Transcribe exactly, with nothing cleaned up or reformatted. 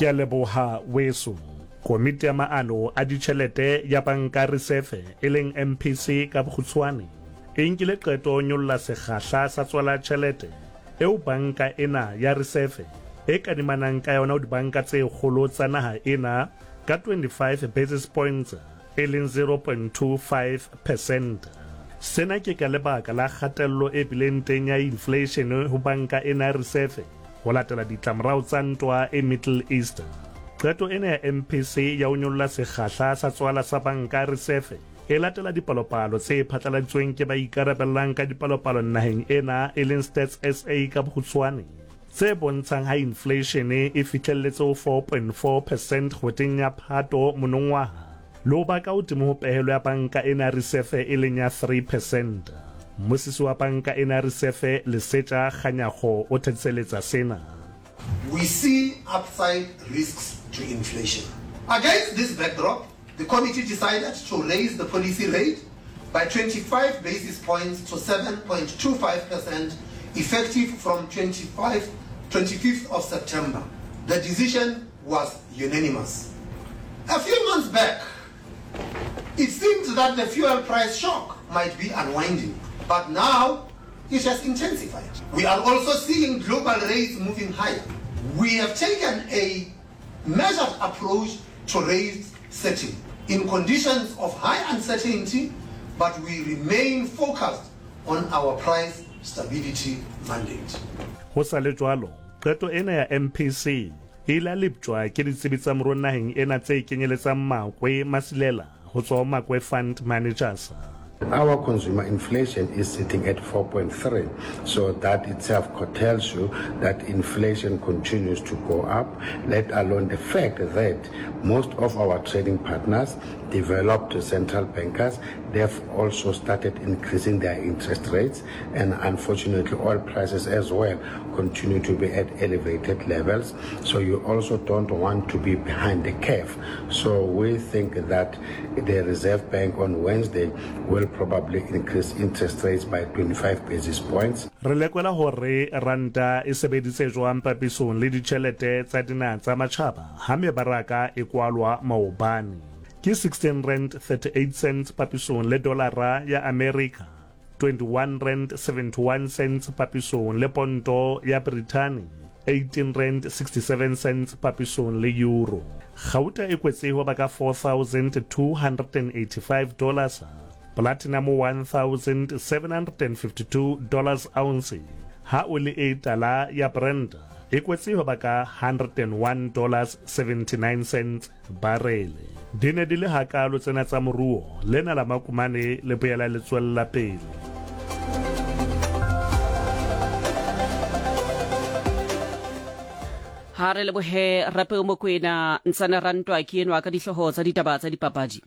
Ke a leboha weso. Komiti ya maano a ditjhelete ya Banka Risefe e leng M P C ka bokgutshwane e nkile qeto ho nyolla sekgahla sa tswala tjhelete eo banka ena ya Risefe e kadimanang ka yona ho dibanka tse kgolo tsa naha ena ka twenty-five basis points e leng zero point two five percent. Sena ke ka lebaka la kgatello e bileng teng ya inflation ho banka ena ya Risefe ho latela ditlamorao tsa ntwa e Middle East. Qeto ena ya M P C ya ho nyolla sekgahla sa tswala sa banka Risefe e latela dipalopalo tse phatlaladitsweng ke ba ikarabellang ka dipalopalo naheng ena e leng Stats S A ka bokgutshwane tse bontshang ha inflation e fihlelletse ho four point four percent kgweding ya Phato monongwaha le ho ba ka hodimo ho pehelo ya banka ena ya Risefe e leng ya three percent. Mmusisi wa banka ena ya Risefe, Lesetja Kganyago, o thetiseletsa sena. We see upside risks to inflation. Against this backdrop, the committee decided to raise the policy rate by twenty-five basis points to seven point two five percent effective from twenty-five, twenty-fifth of September. The decision was unanimous. A few months back, it seemed that the fuel price shock might be unwinding, but now it has intensified. We are also seeing global rates moving higher. We have taken a measured approach to rate setting in conditions of high uncertainty, but we remain focused on our price stability mandate. Ho sa le jwalo, qeto ena ya M P C e ile ya leptjwa ke ditsebi tsa moruo naheng ena tse kenyeletsang Makwe Masilela ho tswa ho Makwe Fund Managers. Our consumer inflation is sitting at four point three, so that itself tells you that inflation continues to go up, let alone the fact that most of our trading partners, developed central bankers, they've also started increasing their interest rates, and unfortunately oil prices as well continue to be at elevated levels. So you also don't want to be behind the curve. So we think that the Reserve Bank on Wednesday will probably increase interest rates by twenty-five basis points. Re lekola hore ranta e sebeditse jwang papisong le ditjhelete tsa dinaha tsa matjhaba ha mebaraka e kwalwa maobane. Ke sixteen rand thirty-eight cents papisong le dolara ya America, twenty-one rand seventy-one cents papisong le ponto ya Britain, eighteen rand sixty-seven cents papisong le euro. Gauta e kwetse ho ba ka four thousand two hundred eighty-five dollars, platinum one thousand seven hundred fifty-two dollars ounce, ha oli e tala ya Brent e kwetse ho ba ka one hundred one dollars seventy-nine cents barele. Di ne di le hakalo tsena tsa moruo. Lena la makumane le boela le tswella pele. Ha re lebohe Rapeo Mokwena. Ntsane Rantwa ke enwa ka dihlooho tsa ditaba tsa dipapadi.